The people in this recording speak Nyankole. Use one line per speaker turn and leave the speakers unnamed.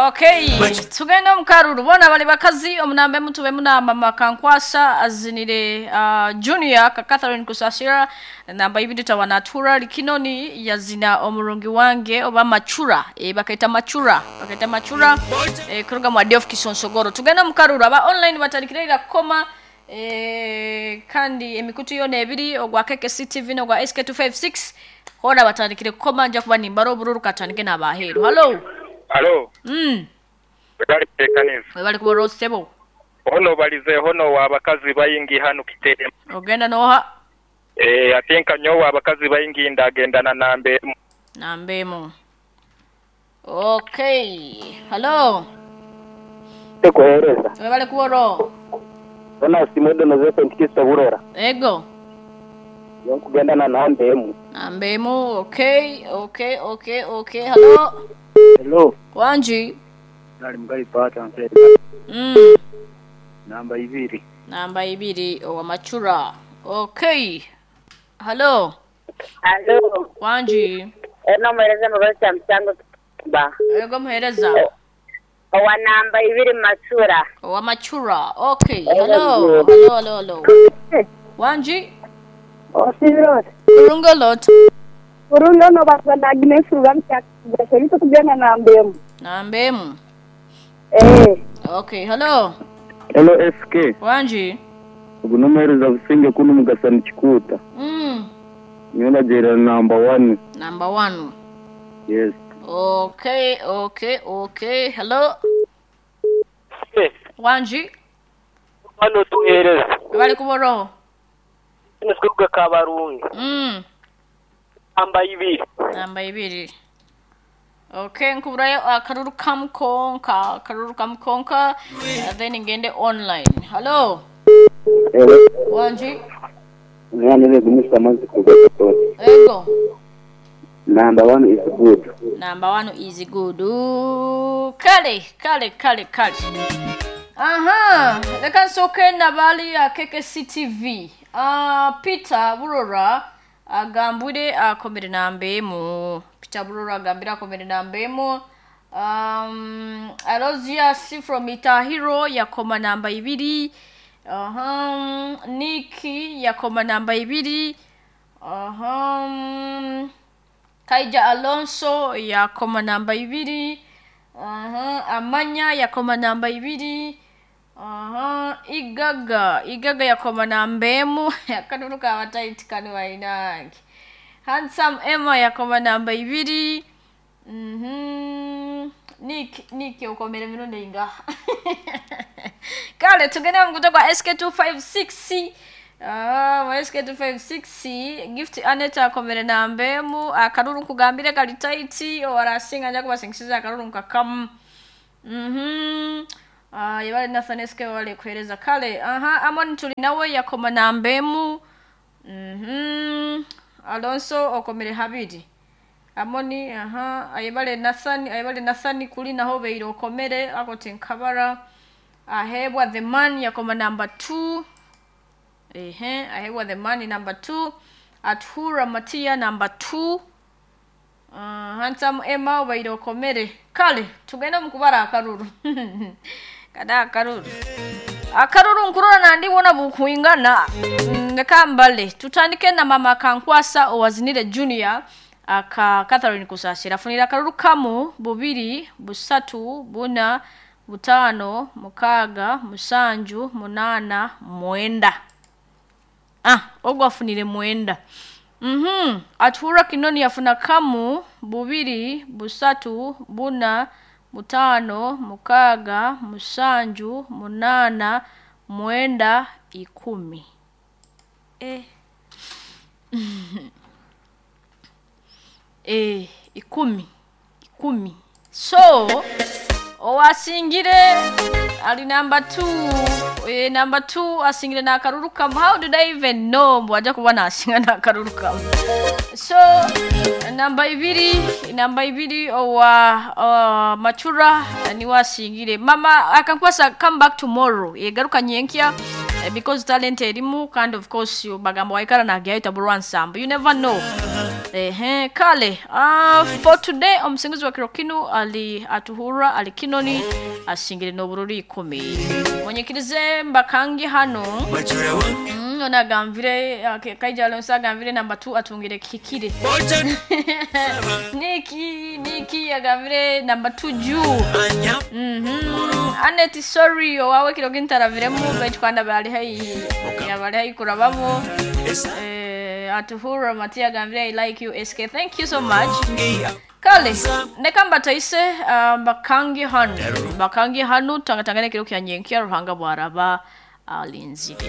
Okay, tugende omu karuru boona bali bakazi omunamba emu tubemu na mama Kankwasa azinire Junior ka Catherine Kusasira namba ibiri tawana Tura Likinoni yazina omurungi wange oba Machura bakaita Machura bakaita Machura kuruga mu Adiof Kisonsogoro. Tugende omu karuru aba online batandikire ira kukoma kandi emikutu yoona ebiri ogwa KKC TV n'ogwa SK256 hoona batandikire kukoma nja kuba nimbara obururu katandike n'abaheeru. Hallo.
Halo. Webale kuteekaniza.
Webale kuba olwo ssebo.
Ono obalizeeho n'owabakazi baingi hanu Kiteema.
Ogenda n'oha?
Eeh ati nka nyowe abakazi baingi ndagenda na namba emu.
Namba emu. Okay. Halo.
Kuhereza.
Webale kuba olwo.
Ona Simudo Nozefe Ntikisa Burora.
Ego.
Nyowe nkugenda na namba emu.
Namba emu. Okay, okay, okay, okay. Halo.
Hello.
Wangi.
Nali Mugabi Pata Nseri. Namba ibiri.
Namba ibiri owa Machura. Okay. Halo.
Halo.
Wangi.
Eno muhereza Mugabi Msango Kitumba.
Ego muhereza.
Owa namba ibiri Machura.
Owa Machura. Okay. Hello. Hello, hello, hello. Wangi.
Osirot.
Kurungolot.
Kurungo no batwa na Agnes Rugamcha. Kugenda na mbemu.
Namba emu.
Eh.
Okay, hello.
Hello SK.
Wangi.
Ogu n'omuhereza Businge kunu Mugasani Kikuuta. Nyowe ndagyerera namba 1.
Number 1.
Yes.
Okay, okay, okay. Hello. Wangi.
Hano tuhereza.
Bali kuboro.
Nisikuga kabarungi. Namba ibiri.
Namba ibiri. Okay, nkuburayo akaruru kamukonka, akaruru kamukonka, then ngende online. Hello.
Hello.
Wangi.
Mwana gumisa amazi kuga.
Ego.
Number 1 is good.
Number 1 is good. Kale, kale, kale, kale. Aha, leka nsooke nabali ya KKC TV. Peter Burora agambwire akomere namba emu. Peter Burora agambire akomere namba emu. Alozias from Itahiro yakoma namba ibiri. Aha, Niki yakoma namba ibiri. Aha, Kaija Alonso yakoma namba ibiri. Aha, Amanya yakoma namba ibiri. Aha, Igaga, Igaga yakoma namba emu. Akanunu kabataiti kano bainange. Handsome Emma yakoma namba ibiri. Nick, Nick okomere mirundi inga. Kale tugende mu kwa SK256. SK256 Gift Aneta akomere namba emu. Akaruru nkugambire kali tight owarasinga nja kubasingisiza akaruru nkakamu. Yabale Nathan SK wale kuhereza kale. Aha, Amon tuli nawe yakoma namba emu. Alonso okomere habiri. Amoni, aha, ayebale Nathan, ayebale Nathan kuli naho beire okomere akote nkabara. Ahebwa the man yakoma number 2. Ehe, ahebwa the man number 2. Athura Matia number 2. Handsome Emma obaire okomere. Kale, tugende mukubara akaruru. Kada akaruru. Akaruru nkurora nandi wona bukuingana. Leka mbale. Tutandike na mama Kankwasa owazinire Junior aka Catherine Kusasira. Afunira akaruru kamu bubiri, busatu, buna, butano, mukaga, musanju, munana, mwenda. Ogwo afunire mwenda. Athura Kinoni afuna kamu, bubiri, busatu, buna, butano, mukaga, musanju, munana, mwenda, ikumi. Ikumi. Ikumi. So, owasingire ali number 2. Number 2 asingire na akaruru kamu. How did I even know mbu aja kuba nasinga na akaruru kamu? So, namba ibiri owa Machura ni wasingire. Mama akankwasa come back tomorrow. Yegaruka nyenkya because talent erimu, and of course bagambo waikara na gyaita burwansambu. You never know. Ehe, kale for today omusinguzi wa kiro kinu ali atuhura ali kinoni ashingire n'obururu 10. Munyikirize mbakangi hano. Onagambire kaija Alonso agambire namba 2 atungire kikire. Niki agambire namba 2 juu. Anet sorry owawe kiro kintaraviremu baitu kwanda bali hai yabali hai kurabamo. Atuhura Matia agambire I like you SK. Thank you so much. Kale nekamba taise bakangi hanu. Bakangi hanu tangatangane kiro kya nyenkia Ruhanga bwaraba alinzire.